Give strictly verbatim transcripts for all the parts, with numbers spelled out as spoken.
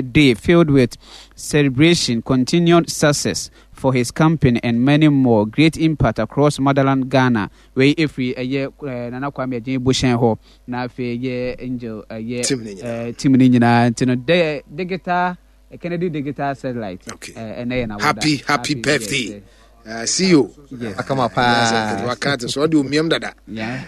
Day filled with celebration, continued success for his company and many more. Great impact across motherland Ghana. Wei efiri ɛyɛ eh, Nana Kwame Agyen Bohyɛn hɔ na afei ɛyɛ Angel ɛyɛ Team ne nyinaa. eh, team ne nyinaa nti no de, digital eh, Kennedy Digital Satellite. Okay. Eh, ɛnɛ yɛ n'awoda. Happy happy birthday. Yes, Uh, see you. Yes. Akama paa. Waka te so ɔde omiam dada. Yeah.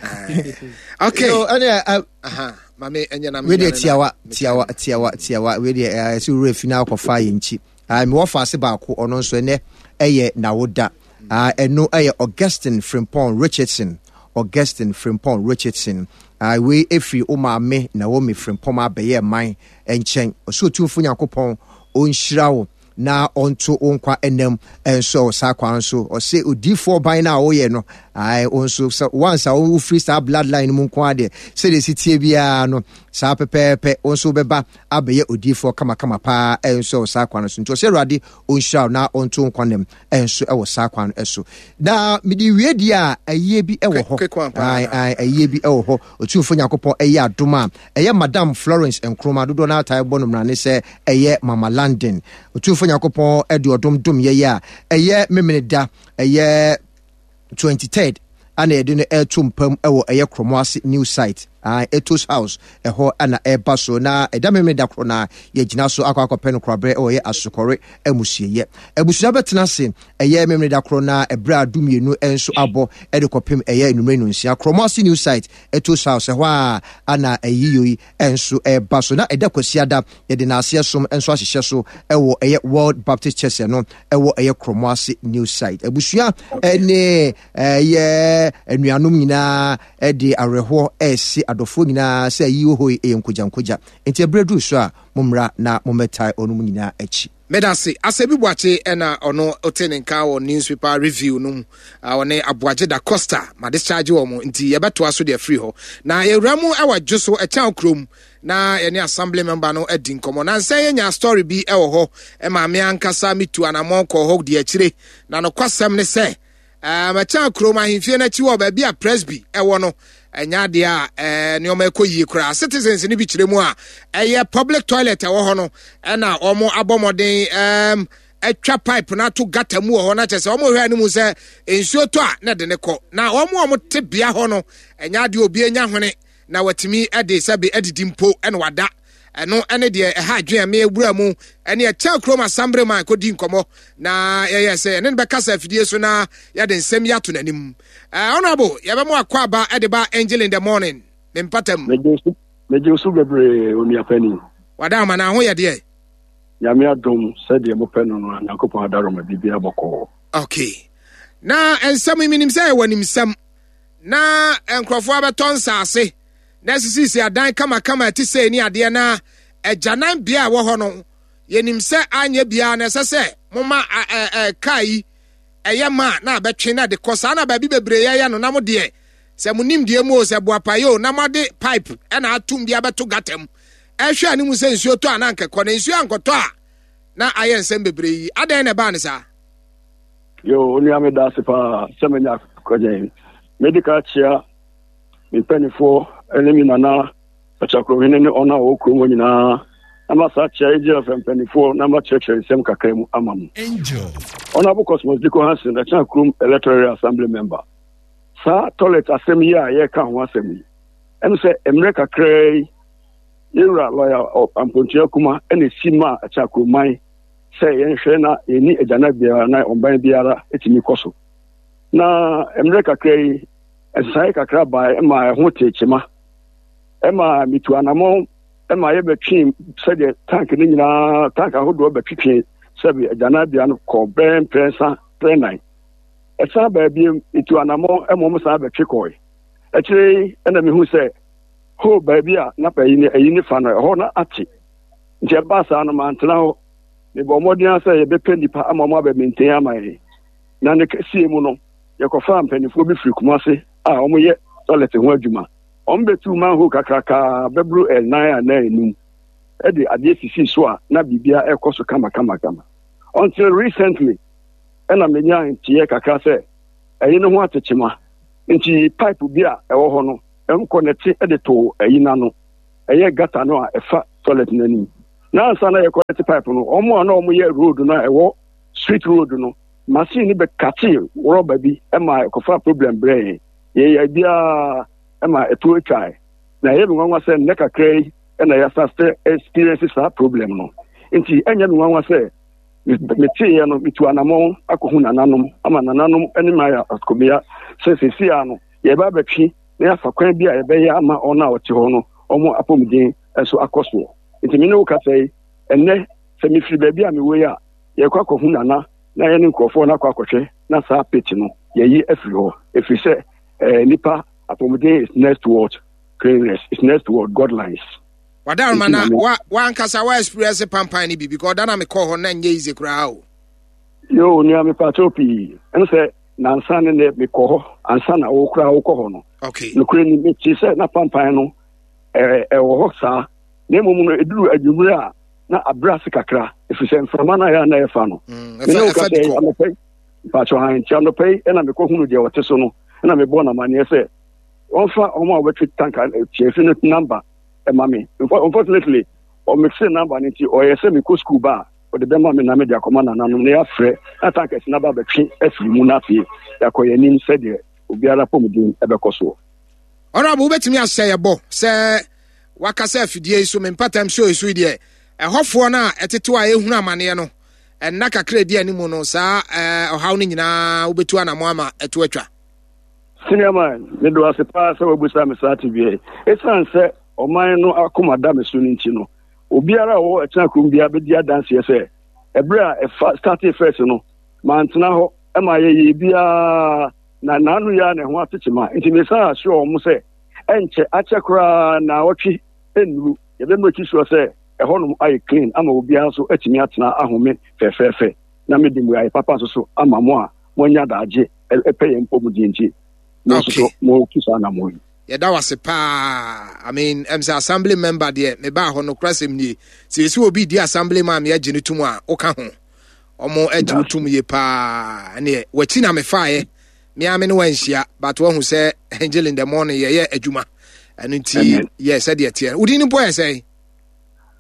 Okay. So, ɛne ɛ, Aha. Mame ɛnyɛ na wei deɛ menyane na- tiawa tiawa tiawa tiawa. Wei deɛ ɛɛ sɛ wura fi na akɔfa yɛn nkyi. Ah, mewɔ faase baako, ɔno nso ɛnɛ ɛyɛ n'awoda. Ah, ɛno ɛyɛ Augustine Frimpong Richardson, Augustine Frimpong Richardson. Ah, wei efiri o maame Naomi Frimpong abɛyɛ man nkyɛn. Ɔsɛ Otumfo Nyankopɔn ɔnhyira wo na ɔnto wo nkwa ɛnam nso ɛwɔ saa kwan so. Ɔsɛ odiifoɔ ban no a woyɛ no ae, wo nso sɛ once a wofiri saa bloodline no mu nko adeɛ, sɛdeɛ ɛsi tie biara no saa pɛpɛɛpɛ, wo nso wobɛba abɛyɛ odiifoɔ kamakama paa ɛnso ɛwɔ saa kwan no so. Nti ɔsɛ Awurade ɔnhyira wo na ɔnto wo nkwa nam ɛnso ɛwɔ saa kwan no so. Na mede wie deɛ a, ayie bi ɛwɔ hɔ. Quick one paa. Ae, ae, ayie bi ɛwɔ hɔ. Otumfoɔ Nyankopɔn ɛyɛ adom a, ɛyɛ Madam Florence Nkrumah, dodoɔ no atae bɔ no mmrane sɛ ɛyɛ Mama London. Otumfoɔ Nyankopɔn ɛde ɔdom dom yɛyɛ a, ɛyɛ Memene da ɛyɛ twenty-third ana yɛde no ɛto mpam ɛwɔ ɛyɛ Kromoase New Site, ah, Etos House ɛhɔ ana ɛba so. Na ɛda Memene da korɔ na yɛgyina so akɔ akɔpɛ no koraberɛ ɛwɔ ɛyɛ Asokɔre amusieyɛ. Abusua bɛtena ase ɛyɛ Memene da korɔ na ɛberɛ a dumienu nso abɔ ɛde kɔpem ɛyɛ enumere no nsia, Kromoase New Site, Etos House ɛhɔ a ana ɛyiyɔ yi nso ɛba so. Na ɛda Kwasiada yɛde n'aseɛ som nso ahyehyɛ so ɛwɔ ɛyɛ World Baptist Church no ɛwɔ ɛyɛ Kromoase New Site. Abusua ɛne ɛyɛ anuanom nyinaa ɛde awerɛhoɔ ɛɛsi adɔfoɔ nyinaa sɛ ayi wɔ hɔ yi ɛyɛ nkogya nkogya, nti ɛberɛ duru so a, mommra na mommɛtae ɔnom nyinaa akyi. Medase. Asɛbi Boakye ɛna ɔno ɔte ne nka wɔ newspaper review no mu. Ah, ɔne Aboagye da Costa ma discharge wɔ mo nti yɛbɛtoa so deɛ afiri hɔ na yɛwura mu ɛwɔ Dwo so ɛkyɛn kurom na yɛne assembly member no adi nkɔmmɔ. Na nsɛn yɛnya story bi ɛwɔ hɔ ɛma me ankasa metu anammɔn kɔɔ hɔ di akyire, na nokwasɛm ne sɛ ɛkyɛn kurom ahemfie no akyi wɔ baabi a Presby ɛwɔ no, ɛnyɛ adeɛ a ɛɛ nneɛma ɛkɔ yie koraa. Citizens no bi kyerɛ mu a, ɛyɛ public toilet ɛwɔ hɔ no ɛna wɔn abɔ mmɔden ɛɛm atwa pipe no ato gutter mu wɔ hɔ, na kyerɛ sɛ wɔn hwɛ anim sɛ nsuo tɔ a na ɛde ne kɔ. Na wɔn a wɔte bea hɔ no, ɛnyɛ adeɛ obi anya hwene na watumi ɛde sɛbi ɛdidi mpo ɛna wada. Ɛno ɛne deɛ ɛha adwene a mewura mu ɛne ɛkyɛn kurom assembly man kɔdi nkɔmmɔ na yɛyɛ sɛ ɛne no bɛkasa afidie so na yɛde nsɛm yi ato n'anim. ɛɛ honorable, yɛbɛmo akɔ aba ɛde ba Angel in the Morning ne mpatam. Megye so bebree, onuapani. Wada ama na ho yɛ deɛ. Nyame adom, sɛdeɛ mopɛ no no a, Nyankopɔn adaroma, biribiara bɔkɔɔ. Okay, na nsɛm yi menim sɛ ɛwɔ nimsɛm na nkurɔfoɔ abɛtɔ nsaase na asisisi adan kamakama ɛte sɛ ni adeɛ na agyanan bea a ɛwɔ hɔ no, yɛnim sɛ anyɛ biara na ɛsɛ sɛ moma kaa yi ɛyɛ ma na abɛtwe na de kɔ saa na baabi bebree yɛyɛ no. Na mo deɛ, sɛ mo nim deɛ mu o, sɛ boapayɛ o, na moade pipe ɛna atum de abɛto gutter mu ɛhwɛ anim sɛ nsuo tɔ a na nkɛkɔ na nsuo ankɔtɔ a na ayɛ nsɛm bebree yi. Adɛn na ɛbaa ne saa? Yo, onua, me da ase paa sɛ manya akɔgye. Medi ka kyea me mpanimfoɔ ne me nana ɔkyakurohene ne ɔno a wɔwɔ kurom hɔ nyinaa, na ma saa kyea ɛgyina fɛ mpanimfoɔ na makyerɛkyerɛ nsɛm kakra mu ama mo. Honorable Cosmos Diko Hansen, Ɛkyɛn kurom electoral assembly member. Saa toilet asɛm yi a yɛreka ho asɛm yi, ɛno sɛ mmerɛ kakraa yi yɛwura lɔya Ampontua Kuma ɛna esi ma Ɛkyɛn kuroman sɛ yɛnhwɛ na yɛni agyana biara na ɔban biara ɛtumi kɔ so. Na mmerɛ kakra yi nsesaeɛ kakra baa ma ɛho tee kyema ɛma metu anammɔn ɛma yɛbɛtwe sɛdeɛ tank no nyinaa, tank ahodoɔ bɛtwetwe sɛbi agyanabea no kɔ bɛn mprɛnsa prɛnan. Ɛsan baabi metu anammɔn ɛma ɔmo san bɛtwe kɔe. Akyire yi ɛna mehu sɛ hoo baabi a na ayi ne ayi ne fa no ɛhɔ na ate, nti ɛbaa saa no mantena hɔ. Mebɔ mmɔden sɛ yɛbɛpɛ nnipa ama ɔmo abɛ maintain ama yɛn, na ne kɛseɛ mu no yɛkɔfaa mpanimfoɔ bi firi Kumase a wɔyɛ toilet ho adwuma. Wɔn bɛtu manhole kakrakaa bɛboro ɛnan anan enum ɛde adeɛ sisi so a na biribiara ɛkɔ so kama kama kama until recently ɛna menya nteɛ kakra sɛ ɛyi no ho atekyema, nti pipe bi a ɛwɔ hɔ no ɛnkɔ nɛte ɛde to ɛyi n'ano, ɛyɛ gutter no a ɛfa toilet n'anim. Na ansa na yɛkɔnɛte pipe no, ɔmo a na ɔmo yɛ road no a ɛwɔ street road no, machine no bɛkate rɔba bi ma ɛkɔfa problem brɛ yɛn. Yɛyɛ biara ma ɛto atwae. Na ɛyɛ me nwanwa sɛ nnɛ kakra yi ɛna yɛasa sɛ experience saa problem no. Nti ɛnyɛ me nwanwa sɛ meteeɛ no, metu anammɔn akɔhu nananom ama nananom ne ma ayɛ akɔbea sɛ seesei no yɛba abɛtwe na yɛafa kwan bi a yɛbɛyɛ ama ɔno a ɔte hɔ no ɔmo apɔmuden nso akɔ soɔ. Nti me ne wo kasa yi, ɛnnɛ sɛ mefiri baabi a mewɔ yi a, yɛkɔ akɔhu nana na yɛne nkurɔfoɔ no akɔ akɔhwɛ na saa pit no yɛyi afiri hɔ, ɛfiri sɛ eh, nipa apɔmuden is next to what cleanliness is next to what guidelines. Wadaroma na wa wankasa wa experience pampan ni bi because ɔda na mekɔɔ hɔ na nyɛ easy koraa o. Yo, nua, mepaakyɛw pii. Ɛno sɛ nansa ne nɛ mekɔ hɔ ansa na wo koraa wokɔ hɔ no. Okay. Nokorɛ ni, mekyi sɛ na pampan no ɛwɔ hɔ saa, na mmom no ɛduru adwummerɛ a na abrɛ ase kakra, ɛfiri sɛ mframa no a yɛ a na ɛfa no. Mene wo ka sɛ anɔpa yi, mpaakyɛw han, nti anɔpa yi ɛna mekɔhunu deɛ ɔte so no, ɛna mebɔɔ no amanneɛ sɛ wɔmfa ɔmo a wɔbɛtwe tanka tiafi no number ɛma me. Unfortunately, ɔmese number no, nti ɔyɛ sɛ mekɔ school ba a, ɔde bɛma me na mede akɔma nananom na yɛafrɛ na tankers no aba bɛtwe afiri mu, na afei yɛakɔ yɛn anim sɛdeɛ obiara pɔmuden ɛbɛkɔ soɔ. Honorable, wobɛtumi ahyɛ yɛ bɔ sɛ wakasa afidie yi so, me mpatam show yi so yi deɛ, ɛhɔfoɔ no a ɛtetew a ɛhunu amanneɛ no, ɛnna kakra edi anim no, saa ɔhaw no nyinaa wobɛtu anamo ama ɛto atwa? Senior man, medo ase paa sɛ wabusa me saa tebea yi. Ɛsiane sɛ ɔman no akoma da me so no nti no, obiara a ɔwɔ ɛkyena kurom biara bɛdi adanseɛ sɛ ɛberɛ a ɛfa startee first no, mantena hɔ ma yɛyɛ biara na naano yi a na ɛho atekye ma. Nti mesan ahyɛ wɔn sɛ ɛnkyɛ akyɛ koraa na ɔtwe nnuru, yɛbɛmake sure sɛ ɛhɔnom ayɛ clean ama obiara nso atumi atena ahome fɛfɛɛfɛ, na mede mmuaeɛ papa nso so ama mo a moanya daagye ɛpɛ yɛn mpɔmuden, nti mo nso so motu saa anammɔn yi. Yɛda wase paa. I mean, ɛm sɛ assembly member deɛ, mebaa hɔ no korasɛm nie, sɛ yɛsi obi di assembly man meɛgye no tom a, woka ho, ɔmo agye wo tom yie paa. Ɛneɛ wakyi na mefaeɛ mea me ne wanhyia, but wahu sɛ angel in the morning yɛyɛ adwuma. Ɛno nti yɛ sɛdeɛ teɛ. Wodin no mpo yɛ sɛn?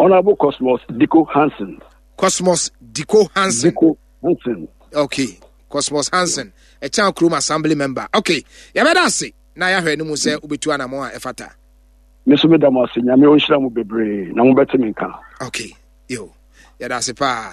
Honorable Cosmos Diko Hansen. Cosmos Diko Hansen. Diko Hansen. Okay, Cosmos Hansen, ɛkyɛn kurom assembly member. Okay, yɛbɛda ase na yɛahwɛ no mu sɛ wobɛtu anammɔn a ɛfata. Me nso meda mo ase. Nyame ɔnhyira mo bebree na mobɛte me nka. Okay, yo, yɛda ase paa.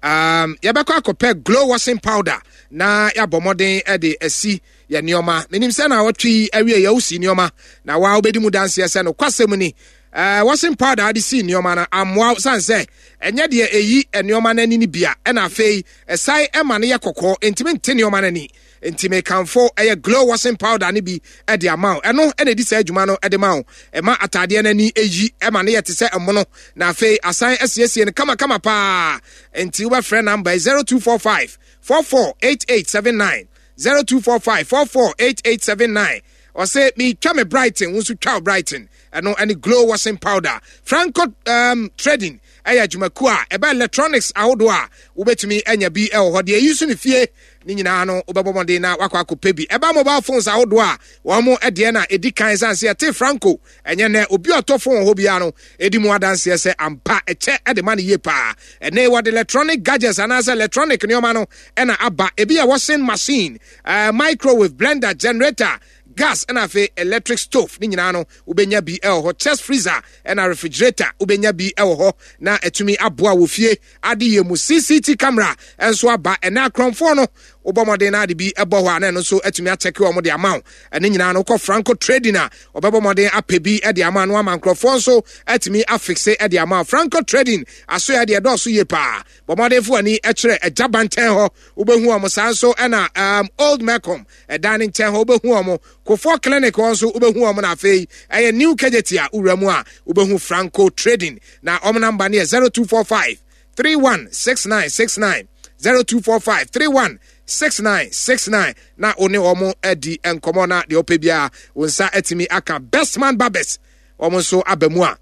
um, yɛbɛkɔ akɔpɛ Glow washing powder na yɛabɔ mmɔden de asi yɛ nneɛma. Menim sɛ na wɔtwe yi awie yɛ wosi nneɛma na waa wobɛdi mu danseɛ sɛ no kwasɛm ni. uh, washing powder ade si nneɛma no amoa sane sɛ ɛnyɛ deɛ ɛyi nneɛma no ani no bia, ɛna afei ɛsan ɛma no yɛ kɔkɔɔ, ntumi nte nneɛma no ani. Nti mekamfo ɛyɛ Glow washing powder no bi ɛde ama wo. Ɛno ɛna ɛdi saa adwuma no ɛde ma wo. Ɛma ataadeɛ no ani ɛyi, ɛma no yɛ te sɛ ɛmono, na afei asan asiesie no kamakama paa. Nti wobɛfrɛ number zero two four five four four eight eight seven nine, zero two four five four four eight eight seven nine. Ɔsɛ metwa me Brighton, wo nso twa wo Brighton. Ɛno ɛne Glow washing powder. Franco um, Trading ɛyɛ adwumakuo a ɛbɛ electronics ahodoɔ a wobɛtumi anya bi ɛwɔ hɔ deɛ ɛyi so ne fie ne nyinaa no, wobɛbɔ mmɔden na wakɔ akɔpɛ bi. Ɛba mobile phones ahodoɔ a, wɔn mo deɛ na ɛdi kan san sɛ yɛte Franco. Ɛnyɛ nɛ obi a ɔtɔ phone wɔ hɔ biara no ɛdi mu adanseɛ sɛ ampa ɛkyɛ ɛde ma no yie paa. Ɛnɛ wɔde electronic gadgets anaasɛ electronic nneɛma no ɛna aba. Ebi yɛ washing machine, uh, microwave, blender, generator, gas, ɛna afei electric stove ne nyinaa no wobɛnya bi ɛwɔ hɔ. Chest freezer ɛna refrigerator wobɛnya bi ɛwɔ hɔ na ɛtumi aboa wɔ fie ade yɛ mu. C C T camera ɛnso aba. Ɛnɛ akorɔmfoɔ no, wobɔ mmɔden na ade bi ɛbɔ hɔ a, na ɛno nso atumi akyɛke wɔn de ama wo. Ɛne nyinaa no, wokɔ Franco Trading a, ɔbɛbɔ mmɔden apɛ bi de ama no ama nkurɔfoɔ nso atumi afixe de ama wo. Franco Trading asoɛ deɛ ɛdɔɔso yie paa. Bɔ mmɔden fo ani kyerɛ Agya Bankyɛn hɔ, wobɛhu wɔn saa nso. Ɛna um, Old Melcom ɛdan ne nkyɛn hɔ wobɛhu wɔn. Kofoɔ Clinic hɔ nso wobɛhu wɔn. Na afei ɛyɛ New Kejetia a wowura mu a, wobɛhu Franco Trading. Na wɔn number no yɛ zero two four five three one six nine six nine, zero two four five three one six nine six nine, na wo ne wɔn adi nkɔmmɔ na deɛ wopɛ biara wo nsa atumi aka. Bestman Barbers, wɔn nso aba mu a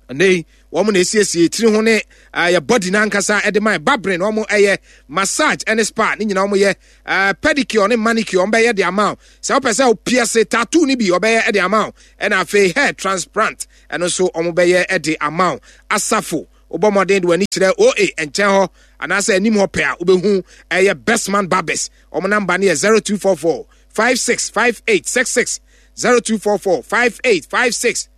ɛnɛ yi wɔn na esiesie tiri ho ne yɛ body n'ankasa ɛde ma babrin. Wɔn ɛyɛ massage ɛne spa ne nyinaa. Wɔn yɛ ɛɛ pedicure ne manicure, wɔn bɛyɛ de ama wo. Sɛ wɔpɛ sɛ pierce tattoo ne bi, wɔbɛyɛ ɛde ama wo. Ɛna afei hair transplant, ɛno nso wɔn bɛyɛ ɛde ama wo. Asafo Wobɔ mmɔden de w'ani kyerɛ O A nkyɛn hɔ anaasɛ anim hɔ pɛ a wobɛhu ɛyɛ Bestman Barbers. Ɔmo namba no yɛ zero two four four five six five eight six six, zero two four four five eight five six,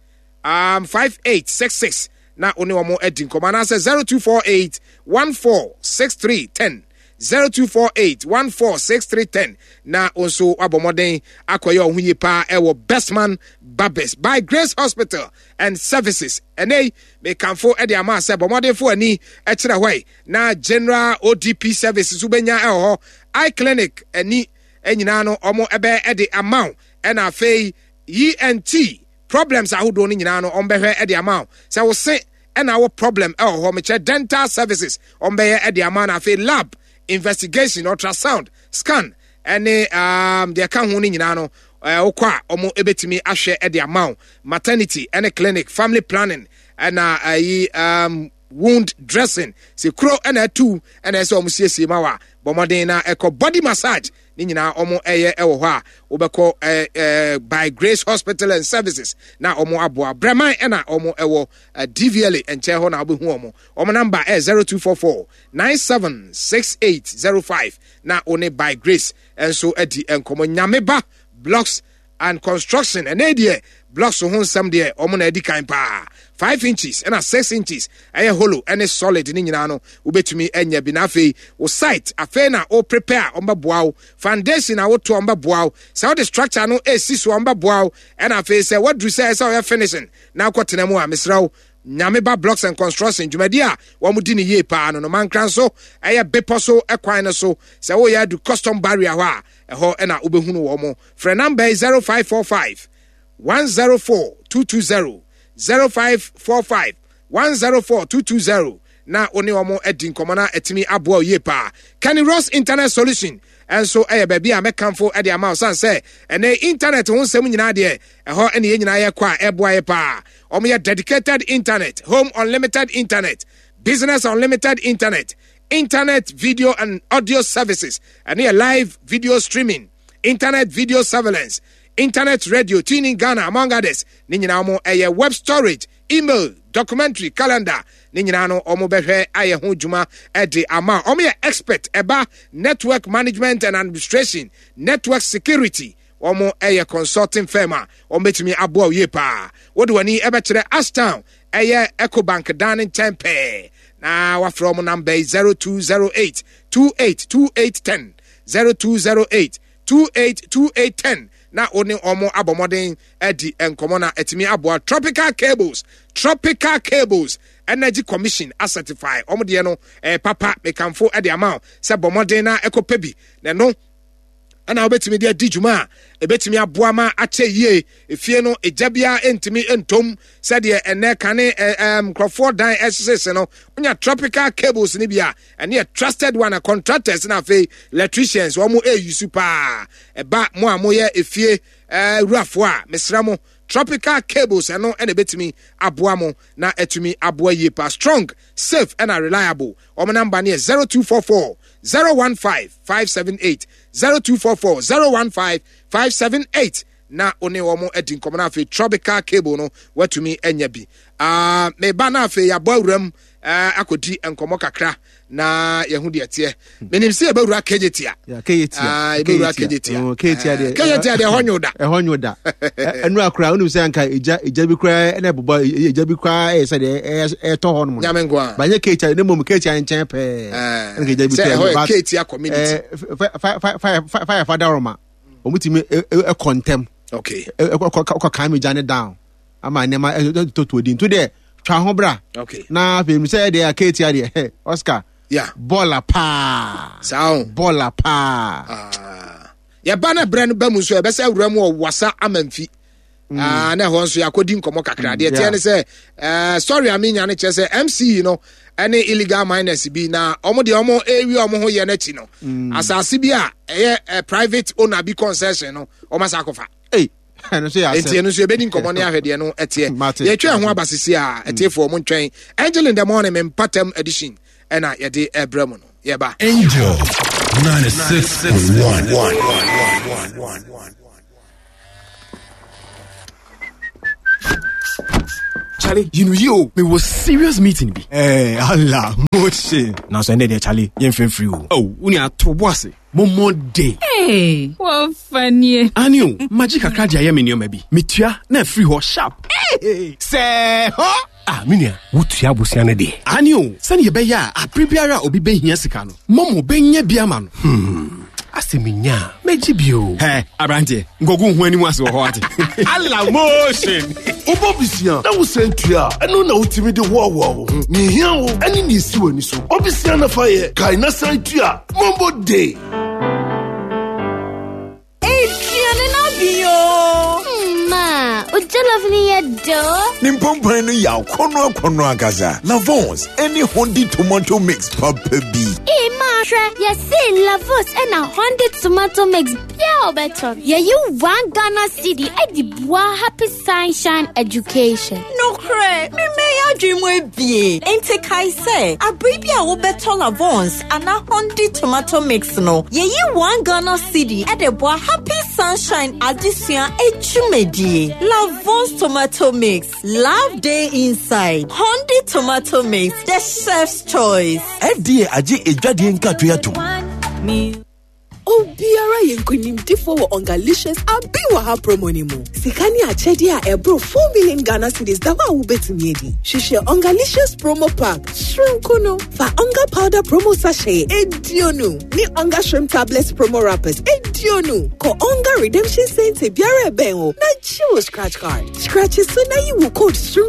um, five eight six six na wo ne ɔmo adi nkɔmmɔ anaasɛ zero two four eight one four six three ten, zero two four eight one four six three ten na wo nso wabɔ mmɔden akɔyɛ ɔho yie paa ɛwɔ Bestman Barbers by Grace Hospital and Services. Ɛnɛ yi mekamfo de ama sɛ bɔ mmɔdenfo ani kyerɛ hɔ yi na General O D P Services nso bɛnya ɛwɔ hɔ. Eye Clinic ani nyinaa no ɔmo ɛbɛ de ama wo, ɛna afei E N T problems ahodoɔ no nyinaa no ɔmo bɛhwɛ de ama wo. Sɛ wo se ɛna wo problem ɛwɔ hɔ, mekyerɛ dental services ɔmo bɛyɛ de ama wo, na afei lab investigation, ultrasound scan ɛne, um, deɛ ɛka ho no nyinaa no, eh, wokɔ a ɔmo ebetumi ahwɛ de ama wo. Maternity ɛne clinic, family planning ɛna ayi, um, wound dressing, sɛ kuro ɛna atu ɛna ɛsɛ ɔmo siesie ma wa bɔ mmɔden na ɛkɔ body massage ne nyinaa ɔmo ɛyɛ ɛwɔ hɔ a wobɛkɔ, eh, eh, by Grace Hospital and Services na ɔmo aboa. Brɛman ɛna ɔmo ɛwɔ, eh, D V L A nkyɛn hɔ na wobɛhu ɔmo. Ɔmo namba ɛyɛ zero two four four nine seven six eight zero five na one by Grace nso adi nkɔmɔ. Nyameba Blocks and Construction ɛnɛ deɛ blocks ho nsɛm deɛ ɔmo na adi kan paa. Five inches ɛna six inches ɛyɛ hollow ɛne solid ne nyinaa no wobɛtumi anya bi. Na afei wo site afei na wo prepare ɔmo bɛboa wo, foundation a woto ɔmo bɛboa wo, sɛ wode structure no esi so ɔmo bɛboa wo, ɛna afei sɛ waduru sɛ ɛsɛ ɔyɛ finishing na akɔtena mu a mesrɛ wo Nyameba Blocks and Construction dwumadi a wɔn di ne yie paa no no mankra nso ɛyɛ bepɔ so ɛkwan no so sɛ woyɛ adu custom barrier hɔ a ɛhɔ ɛna wobɛhunu wɔn mo. Frɛ number yi zero five four five one zero four two two zero, zero five four five one zero four two two zero na wo ne wɔn adi nkɔmmɔ na atumi aboa wo yie paa. Kenny Rose Internet Solution nso ɛyɛ baabi a mɛkamfo de ama wo san sɛ ɛnɛ internet ho nsɛm nyinaa deɛ ɛhɔ ɛne yɛn nyinaa yɛkɔ a ɛboa yɛ paa. Wɔn yɛ dedicated internet, home unlimited internet, business unlimited internet, internet video and audio services, ɛne yɛ live video streaming, internet video surveillance, internet radio, tuning Ghana among others. Ne nyinaa wɔn ɛyɛ web storage, email, documentary, calendar. Ne nyinaa no wɔn bɛhwɛ ayɛ ho dwuma ɛde ama. Wɔn yɛ expert ɛba network management and administration, network security. Wɔn ɛyɛ consulting firm a wɔn bɛtumi aboa yie paa. Wɔde wɔn ani ɛbɛkyerɛ Ashtown ɛyɛ Ecobank dan ne nkyɛn pɛɛ. Na wafrɛ wɔn number yi zero two zero eight two eight two eight ten, zero two zero eight two eight two eight ten. Na wo ne wɔn abɔ mmɔden adi nkɔmmɔ na atumi aboa. Tropical Cables, Tropical Cables Energy Commission acertify wɔn deɛ no, eh, papa mekamfo de ama wo sɛ bɔ mmɔden na ɛkɔpɛ bi na ɛno ɛna wobɛtumi de adi dwuma a ɛbɛtumi aboa ma akyɛ yie. Efie no egya biara ntumi ntom sɛdeɛ ɛnɛ kane, ɛ, ɛ, nkurɔfoɔ dan ɛhyehyɛ no. Wonya Tropical Cables no bi a ɛne yɛ trusted one a contractors na afei electricians wɔn mo ɛyi su paa. Ɛba mo a moyɛ efie, ɛ, wurafoɔ a mesrɛ mo Tropical Cables ɛno ɛna ɛbɛtumi aboa mo na ɛtumi aboa yie paa. Strong, safe ɛna reliable. Wɔn namba no yɛ zero two four four zero one five five seven eight, zero two four four zero one five five seven eight. Na wo ne wɔn adi nkɔmmɔ na afei Tropical Cable no watumi anya bi. Ah, meba na afei yɛabɔ awuram, eh, akɔdi nkɔmmɔ kakra na yɛho deɛ teɛ. Menim sɛ yɛbɛwura K J T A. Yeah, K J T A. Ah, yɛbɛwura K J T A. K J T A. Oh, K J T A deɛ. Eh, K J T A deɛ ɛhɔ nwo da. Ɛhɔ nwo da. Ɛ, ɛnu akora, wonim sɛ anka egya, egya bi koraa ɛna ɛbobɔ, e, egya bi koraa ɛyɛ sɛ deɛ ɛyɛ, ɛtɔ hɔ nom. Nyame nko a. Ba nyɛ K J T A, ne mmom K J T A nkyɛn pɛɛ. Eh, Ɛna egya bi sɛ tɔ ɛhɔ yɛ ɛmu, but, K J T A community. eh, f-, f-, f-, f-, f-, fire fa daroma. Wɔn tumi, e, e, ɛkɔ ntɛm. Okay. E, e, kɔ, kɔ, kɔ kan mi gya ne down. Ama nneɛma, ɛ, ɛ, tɔ to di. Nto deɛ, twa ho bra. Okay. Na afei, mi sɛ ɛdeɛ, K J T A deɛ, hɛ, Oscar. Yeah. Bɔɔla paa. Saa o. Bɔɔla paa. Ah. Yɛba na brɛ no ba mu nso, yɛbɛsɛ awura mu wɔ Wasa Amamfi. Mm. Ah, na ɛhɔ nso yɛakɔdi nkɔmmɔ kakra. Mm, Deɛ ɛteɛ yeah. ne sɛ, eh, story a menya no kyerɛ sɛ M C no ɛne illegal miners bi na ɔmo deɛ ɔmo ewi ɔmo ho yɛ n'akyi no. Mm. Asase bi a ɛyɛ, eh, private owner bi concession no, ɔmo asa akɔfa. Ei, ɛno nso yɛ asɛm. Enti ɛno nso yɛbɛdi nkɔmmɔ ne ahwɛ deɛ no ɛteɛ. Mate. Yɛtwa ɛho aba sisi a, ɛtiefoɔ mo ntwɛn. Angel in the Morning, me mpatam edition ɛna yɛde ɛbrɛ mu no. Yɛba. Angel ninety-six point one. Charlie, you know you me was serious meeting bi. Eh, Allah, motion. Na so ende de Charlie, yɛmfrɛ free o. Oh, wo nua to bo ase. Momo day. Hey, wɔfa nie. Ani o, magye kakra de ayɛ me nneɛma bi. Metua na afiri hɔ sharp. Hey, sɛ hɔ. Ah, me nua, wotua abosea no deɛ. Ani o, sɛne yɛbɛyɛ a abere biara a obi bɛhia sika no, Momo bɛnya bi ama no. Hmm. Asɛ menya a, mɛgye bio. Hɛ, aberanteɛ, nkɔgu ho anim ase wɔ hɔ ate. Allah motion. Wobɔ bisia na wosan tua a, ɛno na wotumi de hoahoa wo ho. Nea ehia wo ɛne nea esi w'ani so. Ɔbisia na fa yɛ, kae na san tua. Momo day. Aduane no abi o. Ma, o jollof ni yɛ dɔ. Ne mpɔmpɔn no yɛ akɔnnɔ akɔnnɔ ankasa. Lavons ɛne Hondi tomato mix papa bi. Ee ma hwɛ, yɛse Lavons ɛna Hondi tomato mix bia ɔbɛtɔ. Yɛyi one Ghana cedi ɛde boa Happy Sunshine Education. Nokorɛ, memɛyɛ adwene mu ebie. Enti kae sɛ, abere bi a wobɛtɔ Lavons anaa Hondi tomato mix no, yɛyi one Ghana cedi ɛde boa Happy Sunshine adesua adwumadie. Lavons tomato mix, love day inside. Hondi tomato mix, the chef's choice. F D A agye edwadeɛ nkatoa atom. Obiara yɛ nkonimdifoɔ wɔ Ongalicious Abi Wɔ Ha promo no mu. Sika ne akyɛdeɛ a ɛboro four million Ghana cedis da hɔ a wobɛtumi adi. Hwehwɛ Ongalicious promo pack soronko no. Fa Onga powder promo sachet eduonu ne Onga shrimp tablets promo wrappers eduonu. Kɔ Onga redemption center biara ɛbɛn wo na gye wo scratch card. Scratch so na yi wo code soronko.